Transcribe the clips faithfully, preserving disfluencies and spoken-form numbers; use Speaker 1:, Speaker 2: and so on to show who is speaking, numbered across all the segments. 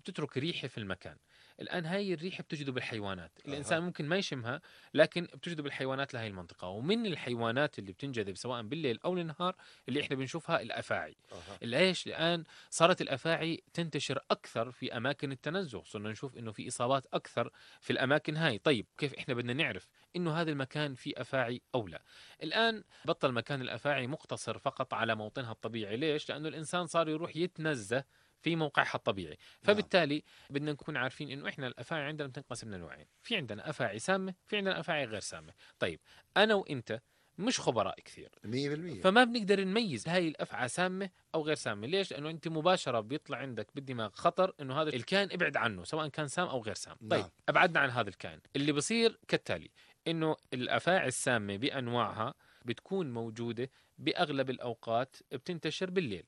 Speaker 1: بتترك ريحة في المكان. الآن هاي الريحة بتجذب الحيوانات.
Speaker 2: أه.
Speaker 1: الإنسان ممكن ما يشمها، لكن بتجذب الحيوانات لهي المنطقة. ومن الحيوانات اللي بتنجذب سواء بالليل أو النهار اللي إحنا بنشوفها الأفاعي.
Speaker 2: أه.
Speaker 1: ليش؟ الآن صارت الأفاعي تنتشر أكثر في أماكن التنزه، صرنا نشوف إنه في إصابات أكثر في الأماكن هاي. طيب كيف إحنا بدنا نعرف إنه هذا المكان فيه أفاعي أو لا؟ الآن بطل مكان الأفاعي مقتصر فقط على موطنها الطبيعي. ليش؟ لأنه الإنسان صار يروح يتنزه في موقعها الطبيعي. فبالتالي بدنا نكون عارفين إنه إحنا الأفاعي عندنا بتنقسم لنوعين، في عندنا أفاعي سامة، في عندنا أفاعي غير سامة. طيب أنا وإنت مش خبراء كثير
Speaker 2: مية بالمية،
Speaker 1: فما بنقدر نميز هاي الأفعى سامة أو غير سامة. ليش؟ لأنه أنت مباشرة بيطلع عندك بالدماغ خطر إنه هذا الكائن ابعد عنه سواء كان سام أو غير سام.
Speaker 2: نعم.
Speaker 1: طيب أبعدنا عن هذا الكائن. اللي بصير كالتالي، إنه الأفاعي السامة بأنواعها بتكون موجودة بأغلب الأوقات بتنتشر بالليل،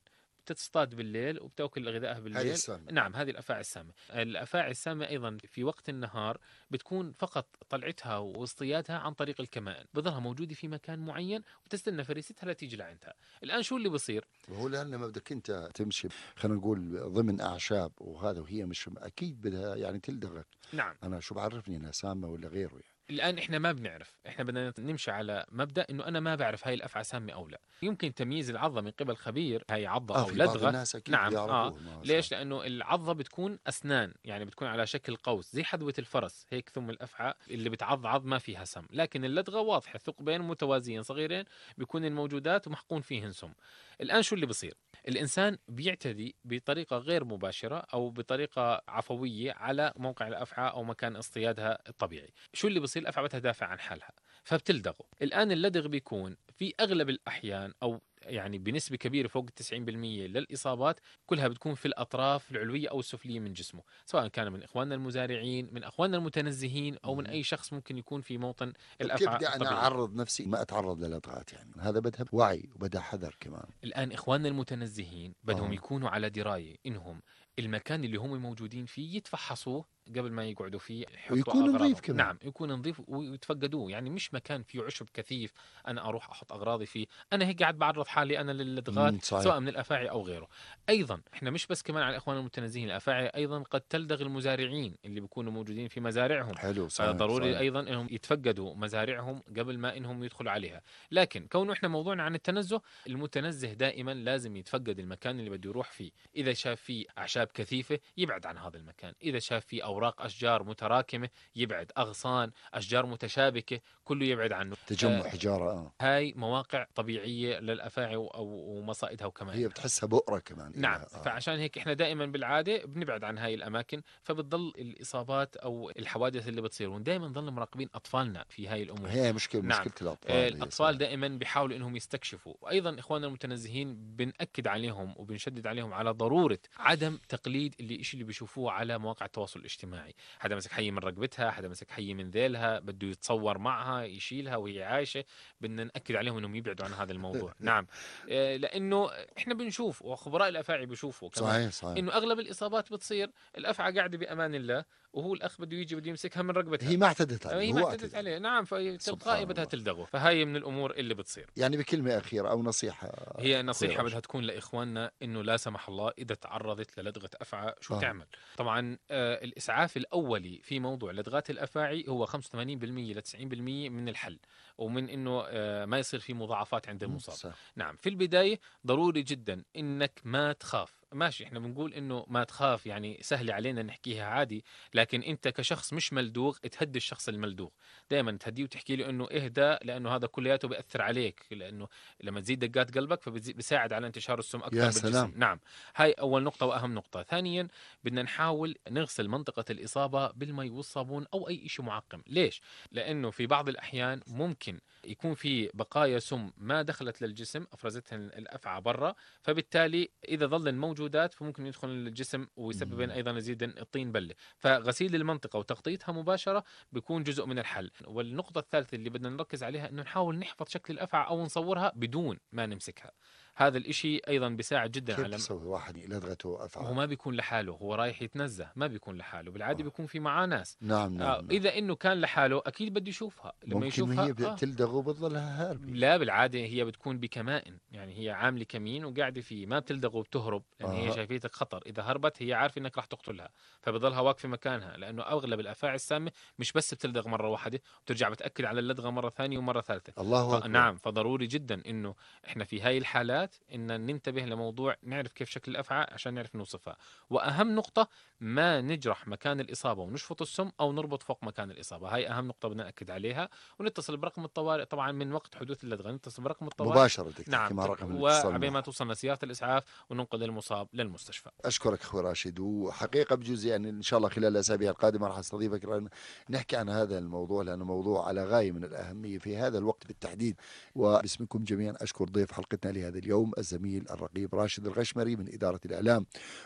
Speaker 1: بتصطاد بالليل وبتاكل غذائها بالليل. نعم هذه الأفاعي السامة. الأفاعي السامة أيضا في وقت النهار بتكون فقط طلعتها واصطيادها عن طريق الكمائن، بظلها موجودة في مكان معين وتستنى فريستها لتيجي لعندها. الآن شو اللي بصير؟
Speaker 2: وهو لأن ما بدك أنت تمشي خلينا نقول ضمن أعشاب وهذا، وهي مش أكيد بدها يعني تلدغك.
Speaker 1: نعم.
Speaker 2: أنا شو بعرفني أنها سامة ولا غيره يعني.
Speaker 1: الآن إحنا ما بنعرف، إحنا بدنا نمشي على مبدأ إنه أنا ما بعرف هاي الأفعى سامة أو لا. يمكن تمييز العضة من قبل خبير هاي عضة
Speaker 2: آه
Speaker 1: أو لدغة.
Speaker 2: نعم
Speaker 1: آه ليش؟ لأنه العضة بتكون أسنان، يعني بتكون على شكل قوس زي حذوة الفرس هيك. ثم الأفعى اللي بتعض عض ما فيها سم، لكن اللدغة واضحة، ثقبين متوازيين صغيرين بيكون الموجودات ومحقون فيهن سم. الآن شو اللي بصير؟ الإنسان بيعتدي بطريقة غير مباشرة أو بطريقة عفوية على موقع الأفعى أو مكان اصطيادها الطبيعي. شو اللي بصير؟ الأفعى بدها تدافع عن حالها فبتلدغه. الآن اللدغ بيكون في أغلب الأحيان أو يعني بنسبة كبيرة فوق تسعين بالمية للإصابات كلها بتكون في الأطراف العلوية أو السفلية من جسمه، سواء كان من إخواننا المزارعين، من أخواننا المتنزهين، أو من أي شخص ممكن يكون في موطن الأفعى
Speaker 2: كيف بدي أنا أعرض نفسي ما أتعرض للدغات؟ يعني هذا بدها وعي وبدها حذر كمان.
Speaker 1: الآن إخواننا المتنزهين بدهم آه. يكونوا على دراية إنهم المكان اللي هم موجودين فيه يتفحصوه قبل ما يقعدوا فيه،
Speaker 2: ويكون نظيف كمان.
Speaker 1: نعم يكون نظيف ويتفقدوه. يعني مش مكان فيه عشب كثيف أنا أروح أحط أغراضي فيه، أنا هيك قاعد بعرض حالي أنا للدغات سواء من الأفاعي أو غيره. أيضا إحنا مش بس كمان على الإخوان المتنزهين، الأفاعي أيضا قد تلدغ المزارعين اللي بيكونوا موجودين في مزارعهم.
Speaker 2: حلو صحيح.
Speaker 1: ضروري
Speaker 2: صحيح.
Speaker 1: أيضا إنهم يتفقدوا مزارعهم قبل ما إنهم يدخلوا عليها. لكن كونه إحنا موضوعنا عن التنزه، المتنزه دائما لازم يتفقد المكان اللي بده يروح فيه. إذا شاف فيه أعشاب كثيفة يبعد عن هذا المكان، إذا شاف فيه أوراق أشجار متراكمة يبعد، أغصان أشجار متشابكة كله يبعد عنه.
Speaker 2: تجمع آه حجارة آه.
Speaker 1: هاي مواقع طبيعية للأفاعي أو مصائدها وكمان
Speaker 2: هي بتحسها بؤرة كمان.
Speaker 1: نعم.
Speaker 2: آه.
Speaker 1: فعشان هيك إحنا دائما بالعادة بنبعد عن هاي الأماكن، فبتضل الإصابات أو الحوادث اللي بتصير. ودائما نضل مراقبين أطفالنا في هاي الأمور.
Speaker 2: هي مشكلة. نعم. مشكلة الأطفال.
Speaker 1: آه الأطفال دائما بيحاولوا إنهم يستكشفوا. وأيضا إخواننا المتنزهين بنأكد عليهم وبنشدد عليهم على ضرورة عدم تقليد اللي إشي اللي بيشوفوه على مواقع التواصل الاجتماعي. حدا مسك حي من رقبتها، حدا مسك حي من ذيلها بده يتصور معها يشيلها وهي عايشة، بدنا نأكد عليهم إنهم يبعدوا عن هذا الموضوع. نعم. آه لأنه إحنا بنشوف وخبراء الأفاعي بيشوفوا كمان
Speaker 2: صحيح صحيح.
Speaker 1: إنه أغلب الإصابات بتصير الأفعى قاعدة بأمان الله وهو الأخ بده يجي بده يمسكها من رقبتها.
Speaker 2: هي ما اعتدت عليه.
Speaker 1: هي ما اعتدت عليه. نعم. فتلقائي بدها تلدغه. فهاي من الأمور اللي بتصير.
Speaker 2: يعني بكلمة أخيرة أو نصيحة،
Speaker 1: هي نصيحة بدها تكون لإخواننا إنه لا سمح الله إذا تعرضت للدغة أفعى شو آه. تعمل. طبعا آه الإسعاف الأولي في موضوع لدغات الأفاعي هو خمسة وثمانين بالمية ل تسعين بالمية من الحل، ومن إنه آه ما يصير في مضاعفات عند المصاب. نعم. في البداية ضروري جدا إنك ما تخاف. ماشي إحنا بنقول إنه ما تخاف يعني سهل علينا نحكيها عادي، لكن أنت كشخص مش ملدوغ تهدي الشخص الملدوغ. دائما تهديه وتحكي له إنه اهدى، لأنه هذا كلياته بيأثر عليك، لأنه لما تزيد دقات قلبك فبيساعد على انتشار السم أكثر بالجسم. سلام. نعم. هاي أول نقطة وأهم نقطة. ثانيا بدنا نحاول نغسل منطقة الإصابة بالمي والصابون أو أي شيء معقم. ليش؟ لأنه في بعض الأحيان ممكن يكون في بقايا سم ما دخلت للجسم أفرزتها الأفعى برا، فبالتالي إذا ظل الموجودات فممكن يدخل للجسم ويسبب أيضا يزيد الطين بلة. فغسيل المنطقة وتغطيتها مباشرة بيكون جزء من الحل. والنقطة الثالثة اللي بدنا نركز عليها إنه نحاول نحفظ شكل الأفعى أو نصورها بدون ما نمسكها. هذا الإشي أيضا بيساعد جدا
Speaker 2: كيف
Speaker 1: على
Speaker 2: تسوي واحد لدغته أفعى؟
Speaker 1: هو ما بيكون لحاله، هو رايح يتنزه، ما بيكون لحاله بالعادة،
Speaker 2: آه.
Speaker 1: بيكون في معاه ناس.
Speaker 2: نعم نعم,
Speaker 1: آه
Speaker 2: نعم.
Speaker 1: إذا إنه كان لحاله أكيد بده يشوفها، لما
Speaker 2: ممكن
Speaker 1: يشوفها
Speaker 2: هي
Speaker 1: آه.
Speaker 2: بتلدغ وبتضلها هاربة.
Speaker 1: لا بالعادة هي بتكون بكمائن، يعني هي عاملة كمين وقاعدة فيه، ما بتلدغ وبتهرب، لأن يعني
Speaker 2: آه.
Speaker 1: هي شايفيتك خطر. إذا هربت هي عارفة إنك راح تقتلها، فبضلها واقفة مكانها، لأنه أغلب الأفاعي السامة مش بس بتلدغ مرة واحدة، بترجع بتأكد على اللدغة مرة ثانية ومرة ثالثة.
Speaker 2: الله أكبر.
Speaker 1: نعم، فضروري جدا إنه إحنا في هاي الحالات إن ننتبه لموضوع، نعرف كيف شكل الأفعى عشان نعرف نوصفها. وأهم نقطة، ما نجرح مكان الإصابة ونشفط السم أو نربط فوق مكان الإصابة. هاي أهم نقطة بدنا نأكد عليها. ونتصل برقم الطوارئ طبعا من وقت حدوث اللدغة، نتصل برقم الطوارئ
Speaker 2: مباشرة.
Speaker 1: نعم،
Speaker 2: مع رقم الاتصال
Speaker 1: وعبين ما توصلنا سيارة الإسعاف وننقذ المصاب للمستشفى.
Speaker 2: أشكرك أخوي راشد، وحقيقة بجوز يعني إن شاء الله خلال الأسابيع القادمة راح أستضيفك نحكي عن هذا الموضوع، لأنه موضوع على غاية من الأهمية في هذا الوقت بالتحديد. وباسمكم جميعا أشكر ضيف حلقتنا لهذا اليوم الزميل الرقيب راشد الغشمري من إدارة الإعلام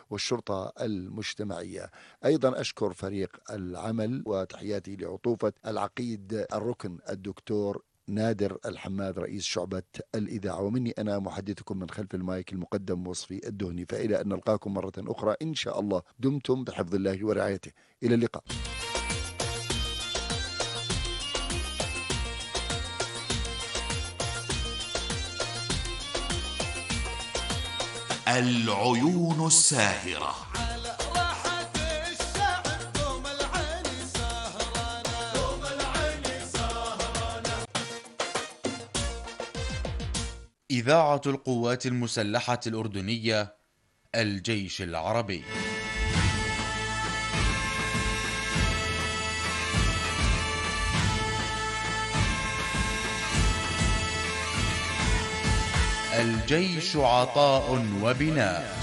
Speaker 2: والشرطة المجتمعية. أيضا أشكر فريق العمل، وتحياتي لعطوفة العقيد الركن الدكتور نادر الحماد رئيس شعبة الإذاعة، ومني أنا محدثكم من خلف المايك المقدم وصفي الدهني. فإلى أن نلقاكم مرة أخرى إن شاء الله، دمتم بحفظ الله ورعايته، إلى اللقاء.
Speaker 3: العيون الساهرة. إذاعة القوات المسلحة الأردنية، الجيش العربي. الجيش عطاء وبناء.